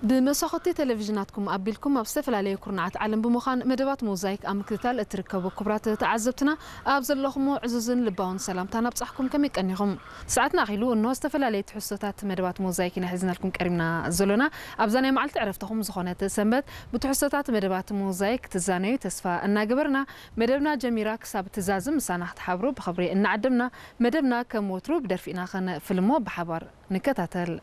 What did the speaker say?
ብመሳኹቲ ቴሌቪዥናትኩም ኣቢልኩም ኣብ ዝተፈላለዩ ኩርናዓት ዓለም ብምዃን መደባት ሞዛይክ ኣብ ምክትታል እትርከቡ ክቡራት ተዓዘብትና፣ ኣብ ዘለኹሞ ዕዙዝን ልባውን ሰላምታ ናብጻሕኩም። ከመይ ቀኒኹም? ሰዓትና ኣኺሉ፣ እንሆ ዝተፈላለዩ ትሕዝቶታት መደባት ሞዛይክ ኢና ሒዝናልኩም ቀሪብና ዘሎና። ኣብዛ ናይ መዓልቲ ዕረፍትኹም ዝኾነት ሰንበት ብትሕዝቶታት መደባት ሞዛይክ ትዛነዩ ተስፋ እናገበርና፣ መደብና ጀሚራ ክሳብ ትዛዝም ምሳና ክትሓብሩ ብኽብሪ እናዓደምና፣ መደብና ከም ወትሩ ብደርፊ ኢና ከነፍልሞ፣ ብሓባር ንከታተል።